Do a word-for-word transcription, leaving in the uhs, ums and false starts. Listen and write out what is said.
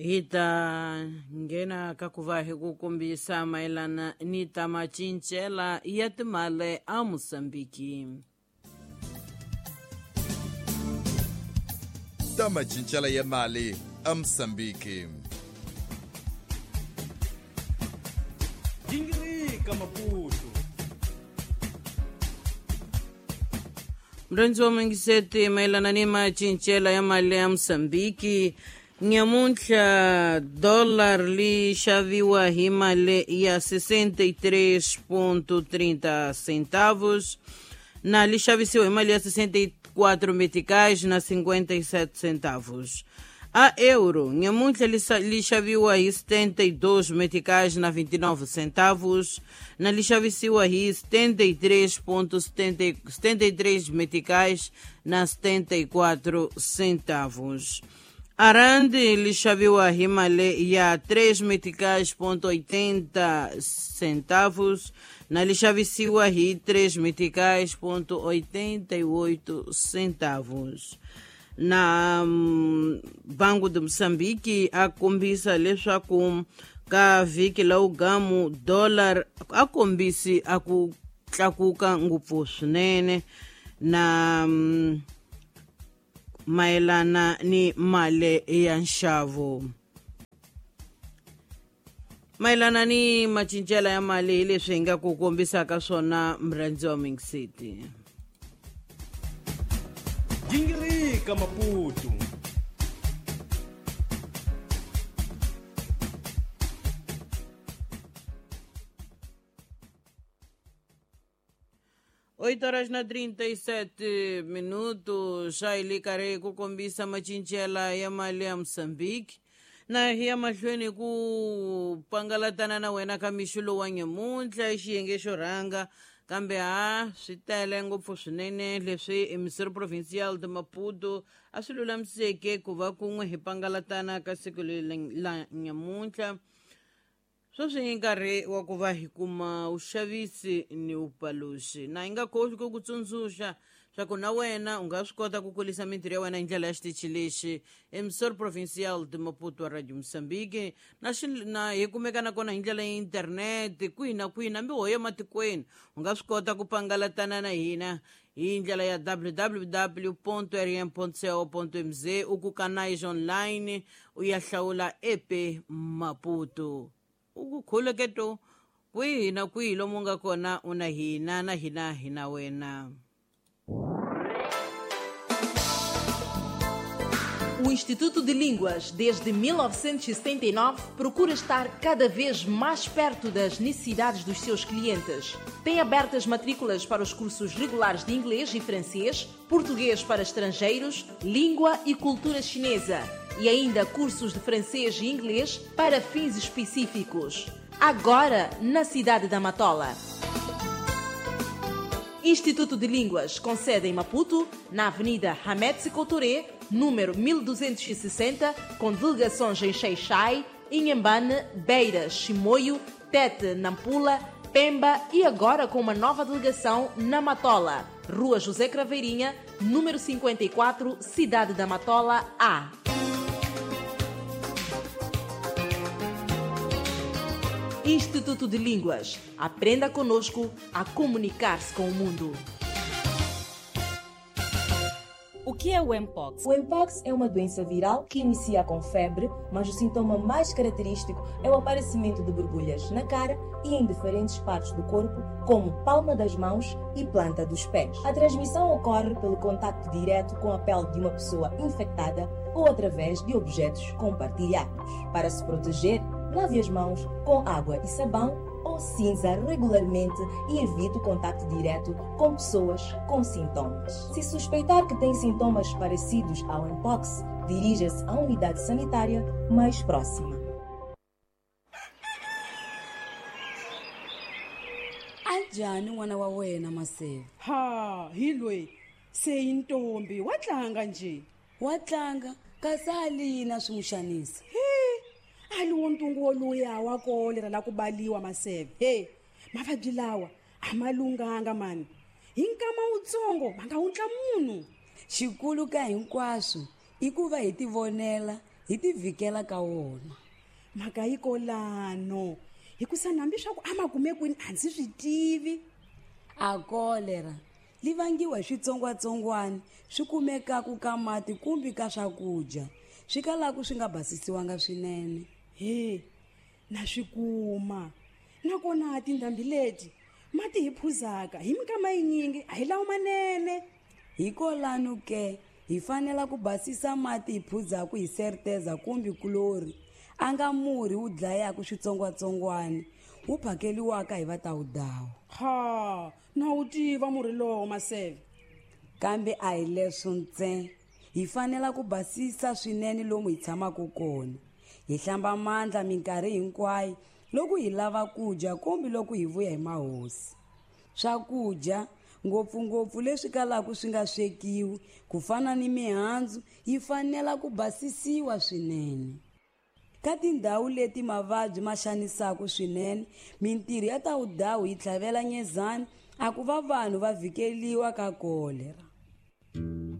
Hi ta nghena ka ku va hi ku kombisa mayelana ni ta macincela ya timali a Mozambiki. Ta macincela ya mali a Mozambiki. Gingirika Maputo. Mrendzi wa mingiseti mayelana ni macincela ya mali ya Mozambiki. Nyamuntlha dólar li xaviwa hi mali ya sessenta e três ponto trinta centavos, na li xavisiwa hi mali ya sessenta e quatro meticais na cinquenta e sete centavos. A euro, nyamuntlha li xaviwa hi setenta e dois meticais na vinte e nove centavos, na li xavisiwa hi setenta e três ponto setenta e três meticais na setenta e quatro centavos. A rand li xaviwa hi mali ya três meticais ponto oitenta centavos, na li xavisiwa hi três meticais ponto oitenta e oito centavos. Na Banco de Moçambique a kombisa leswaku ka vhiki la ugamu dollar a kombisi a ku tlakuka ngopfu swinene na mayelana ni mali ya nxavo. Mayelana ni macincelo ya mali hi leswi hi nga ku kombisaka swona mrhandzi wa Mingiseti. Gingirika Maputo. Oito horas na trinta e sete minutos, xa hi le karhi ku kombisa macincela ya mali ya Mozambique. Na hi ya mahlweni ku pangalatana na wena ka mixo lowu wa nyamuntlha i xiyenge xo rhanga, kambe ha swi tele ngopfu swinene leswi Emissário Provincial de Maputo a swi lulamiseke ku va kun'we hi pangalatana ka siku leri la nyamuntlha. Sweswi i nkarhi wa ku va hi kuma vuxavisi ni vupaluxi, na hi nga khohlwi ku ku tsundzuxa swa ku na wena u nga swi kota ku kulisa mintirho ya wena hi ndlela ya xitichi lexi Emissário Provincial de Maputo wa Radio Mozambique. Na na hi kumeka nakona hi ndlela ya internet kwihi na kwihi hambi ho ya matikweni u nga swi kota ku pangalatana na hina hi ndlela ya w w w ponto r m ponto co ponto m z, u ku ka Nice online u ya hlawula E P Maputo. U ku khuluketo kwihi na kwihi lomu nga kona u na hina na hina hi na wena. O Instituto de Línguas, desde mil novecentos e setenta e nove, procura estar cada vez mais perto das necessidades dos seus clientes. Tem abertas matrículas para os cursos regulares de inglês e francês, português para estrangeiros, língua e cultura chinesa e ainda cursos de francês e inglês para fins específicos. Agora, na cidade da Matola. Instituto de Línguas, com sede em Maputo, na Avenida Hamed Sékou Touré, número mil duzentos e sessenta, com delegações em Xai-Xai, Inhambane, Beira, Chimoio, Tete, Nampula, Pemba e agora com uma nova delegação na Matola, Rua José Craveirinha, número cinquenta e quatro, Cidade da Matola A. Instituto de Línguas. Aprenda conosco a comunicar-se com o mundo. O que é o Mpox? O Mpox é uma doença viral que inicia com febre, mas o sintoma mais característico é o aparecimento de borbulhas na cara e em diferentes partes do corpo, como palma das mãos e planta dos pés. A transmissão ocorre pelo contacto direto com a pele de uma pessoa infectada ou através de objetos compartilhados. Para se proteger, lave as mãos com água e sabão ou cinza regularmente e evite o contacto direto com pessoas com sintomas. Se suspeitar que tem sintomas parecidos ao Mpox, dirija-se à unidade sanitária mais próxima. Anjani n'wana wa wena Maseve? Ha, hi loyi se i ntombi wa tlanga nje. Wa tlanga kasi a lina swi n'wi xanisa. A li wo ntungu woluya wa kolera la ku baliwa Maseve. He, mavabyi lawa a ma lunghanga mani. Hi nkama wutsongo va nga wundla munhu. Xikulu ka hinkwaswo i ku va hi tivonela Hi ti vhikela ka wona. Mhaka yi kolano. Hikusa nambi swa ku a ma kume kwini a ndzi swi tivi. A kolera li vangiwa hi switsongwatsongwana swi kumekaku ka mati kumbe ka swakudya swi kalaku swi nga basisiwanga swinene. He, na swi kuma. Nakona tindhambi leti mati hi phuzaka hi minkama yinyingi a hi lawo manene. Hikolano ke hi fanela ku basisa mati hi phuzaku hi serteza kumbe kulori a nga murhi wu dlayaku switsongwatsongwana wu phakeliwaka hi vatawudawu. Ha, na wu tiva murhi lowo Maseve. Kambe a hi leswo ntsena. Hi fanela ku basisa swinene lomu hi tshamaka kona. Hi hlamba mandla minkarhi hinkwayo loko hi lava ku dya kumbe loko hi vuya hi mahosi. Swakudya ngopfungopfu leswi kalaka swi nga swekiwi ku fana ni mihandzu yi fanela ku basisiwa swinene. Ka tindhawu leti mavabyi ma xanisaka swinene, mintirho ya tawudawu yi tlhavela nyezana a ku va vanhu va vhikeliwa ka kolera.